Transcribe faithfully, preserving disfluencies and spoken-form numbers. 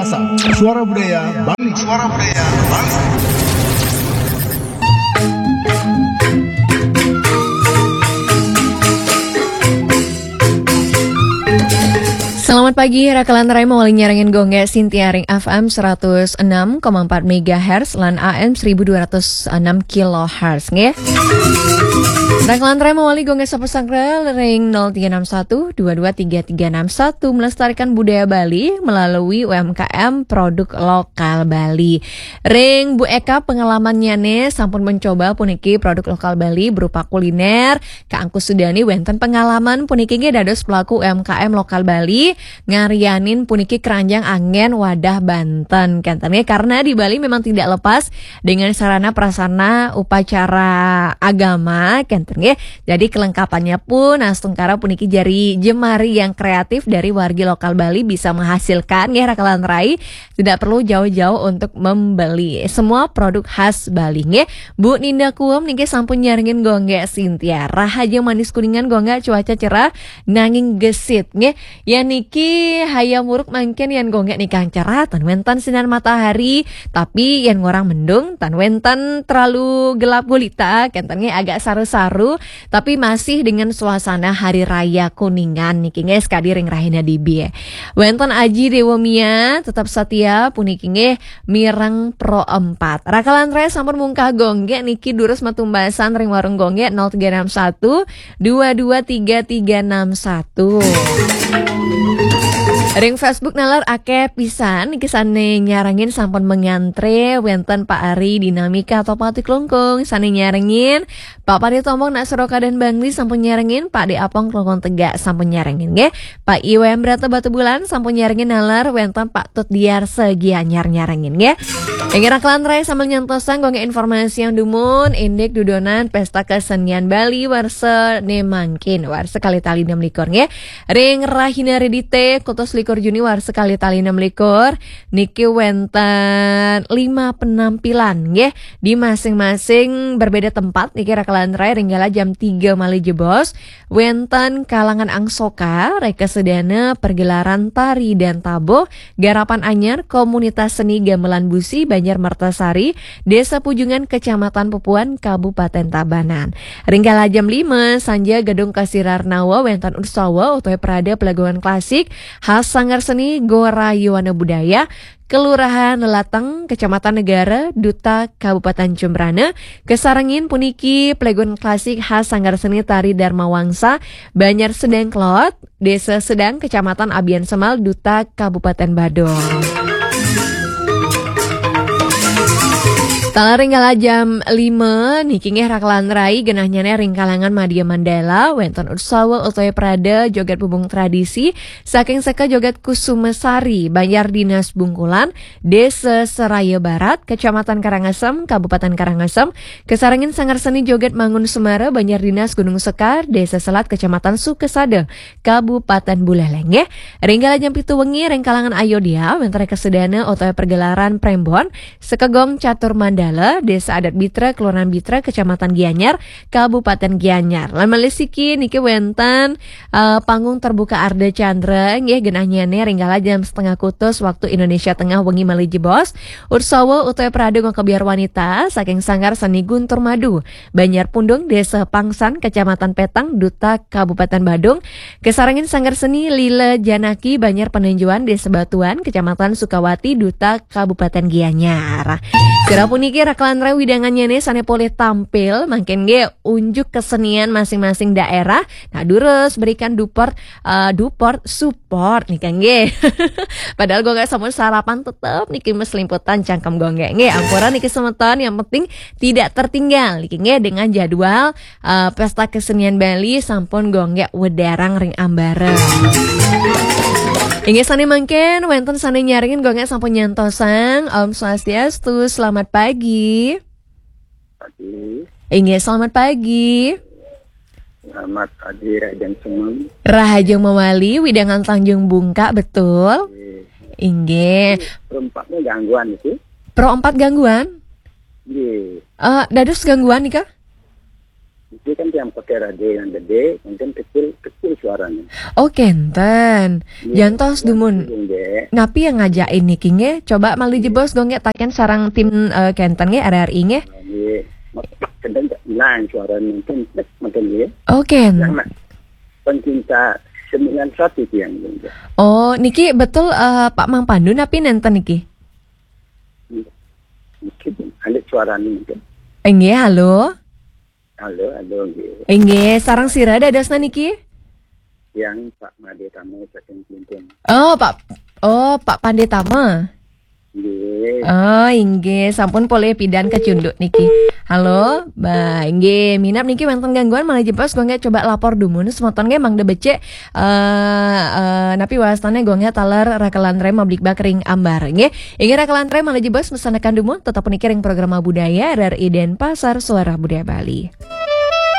Suara Budaya Bali. Suara Budaya Bali. Selamat pagi, rakalan rai mawali nyarengin Gongge Sintiaring F M seratus enam koma empat megahertz lan A M seribu dua ratus enam kilohertz, nggih. Rakalan rai mawali Gongge Sapa Sanggra ring nol tiga enam satu dua dua tiga tiga enam satu, melestarikan budaya Bali melalui U M K M produk lokal Bali. Ring Bu Eka, pengalamannyane sampun mencoba puniki produk lokal Bali berupa kuliner. Kak Angku Sudani wenten pengalaman puniki nggih dados pelaku U M K M lokal Bali, ngarianin puniki keranjang angen wadah Banten, kenten nggih. Karena di Bali memang tidak lepas dengan sarana prasarana upacara agama, kenten nggih. Jadi kelengkapannya pun astungkara puniki jari jemari yang kreatif dari wargi lokal Bali bisa menghasilkan nggih, rakalan rai. Tidak perlu jauh-jauh untuk membeli semua produk khas Bali nggih. Bu Ninda Kuem niki sampun nyarengin Gongge Sintia. Rahaja manis Kuningan, Gongge cuaca cerah nanging gesit nggih. Yan niki hayam muruk mangkin yan Gongge nikang cerah, tan wenten sinar matahari, tapi yan ngorang mendung, tan wenten terlalu gelap gulita, kenten nggih, agak saru-saru, tapi masih dengan suasana hari raya Kuningan niki nggih, sekadi ring rahina dibi. Wenten Aji Dewa Mia, tetap setia puniki nggih, mireng Pro empat. Rakalan rai sampun mungkah Gongge niki durus matumbasan ring warung Gongge nol tiga enam satu dua dua tiga tiga enam satu. Ring Facebook nalar akeh pisan niki sane nyarengin sampun mengantre, wenten Pak Ari Dinamika atau Pati Klungkung sane nyarengin, Pak Pati Tombong nak Seroka dan Bangli sampun nyarengin, Pak De Apong Klungkung Tegak sampun nyarengin nggih. Pak Iwem Brata Batu Bulan sampun nyarengin nalar, wenten Pak Tut Diarsa Gianyar nyarengin nggih. Inggih rakalan rai sambil nyantosang Gongge informasi yang dumun, indik dudonan Pesta Kesenian Bali warsa ne mangkin, warsa kali tali enam likur nggih. Ring rahina Redite, kutus likur Juni warsa kali tali enam likur, niki wenten lima penampilan nggih, di masing-masing berbeda tempat niki rakalan rai, ring kala jam tiga malih jebos. Wenten kalangan Angsoka, reka sedana pergelaran tari dan tabuh, garapan anyar komunitas seni gamelan busi Banjar Mertasari, Desa Pujungan, Kecamatan Pupuan, Kabupaten Tabanan. Ring kala jam lima sanja Gedung Kasih Rarnawa wenten utsawa utawi prada pelagungan klasik khas Sanggar Seni Gora Yowana Budaya, Kelurahan Lelateng, Kecamatan Negara, Duta Kabupaten Jembrana, kesarengin puniki pelagungan klasik khas Sanggar Seni Tari Dharma Wangsa, Banjar Sedang Kelot, Desa Sedang, Kecamatan Abian Semal, Duta Kabupaten Badung. Taler ring kala jam lima niki nggih rakalan rai, genahnyane ring kalangan Madya Mandala, wenten utsawa utawi prada joget pubung tradisi saking Seka Joget Kusuma Sari, Banjar Dinas Bungkulan, Desa Seraya Barat, Kecamatan Karangasem, Kabupaten Karangasem, kesarengin Sanggar Seni Joget Mangun Semara, Banjar Dinas Gunung Sekar, Desa Selat, Kecamatan Sukesada, Kabupaten Buleleng nggih. Ring kala jam pitu wengi ring kalangan Ayodya, wenten reka sedana utawi pergelaran prembon, Sekegong Catur Mandala, Desa Adat Bitra, Kelurahan Bitra, Kecamatan Gianyar, Kabupaten Gianyar. Lan malih siki niki wenten, eh, panggung terbuka Arda Chandra nggih, genahnyane ring kala jam setengah kutus waktu Indonesia Tengah wengi malih jebos. Utsawa utawi prada ngakabiar wanita saking Sanggar Seni Guntur Madu, Banjar Pundung, Desa Pangsan, Kecamatan Petang, Duta Kabupaten Badung, kesarengin Sanggar Seni Lila Janaki, Banjar Penenjuan, Desa Batuan, Kecamatan Sukawati, Duta Kabupaten Gianyar. Sira puniki rakalan rai, widangannyane sane polih tampil, mangkin nggih unjuk kesenian masing-masing daerah. Nah, durus berikan duport, eh, duport support nih kan nggih. Padahal Gongge sampun sarapan, tetep niki meslimputan cangkem Gongge nggih. Ampura niki semeton, yang penting tidak tertinggal niki nggih dengan jadwal, eh, Pesta Kesenian Bali sampun Gongge wedarang ring ambara. Inggih sane mangkin wenten sane nyarengin, Gongge sampun nyantosang. Om Swastiastu, selamat pagi. Pagi. Inggih, selamat pagi. Selamat pagi, Raden Semeng. Rahaja mawali, widangan Tanjung Bungka, betul? Nggih. Inggih. Pro empat ni gangguan itu? Pro empat gangguan? Nggih. Eh, dados gangguan nika? Jadi kan yang pakai radio yang gede, mungkin kecil kecil suaranya. Oh, kenten. Jantos dumun. Napi yang ngajakin niki nggih? Coba malih jebos Gung nggih, taken sareng tim eh, kenten nggih, R R I nggih. Jadi, kenten lain suaranya mungkin mungkin ya. Oh, ken. Yang nak pencinta sembilan satu itu yang mungkin. Oh, niki betul eh, Pak Mang Pandu napi nenten niki? Mungkin ada suaranya mungkin. Inggih, halo. Halo, halo, nggih. Inggih, sareng sira dadosna niki? Yang Pak Made Tama saking Clinton. Oh, Pak Oh, Pak Panditama. Nggih. Oh, inggih, sampun polih pidan kacunduk niki. Halo, Mbak, inggih, minab niki wonten gangguan malih jebos Gung nggih, coba lapor dumun semeton nggih mangda becik eh eh, napi wastane Gung nggih taler rakelan rem mablikbak ring ambar nggih. Inggih rakelan rem malih jebos mesenekan dumun tetep niki ring program budaya R R I Denpasar Suara Budaya Bali.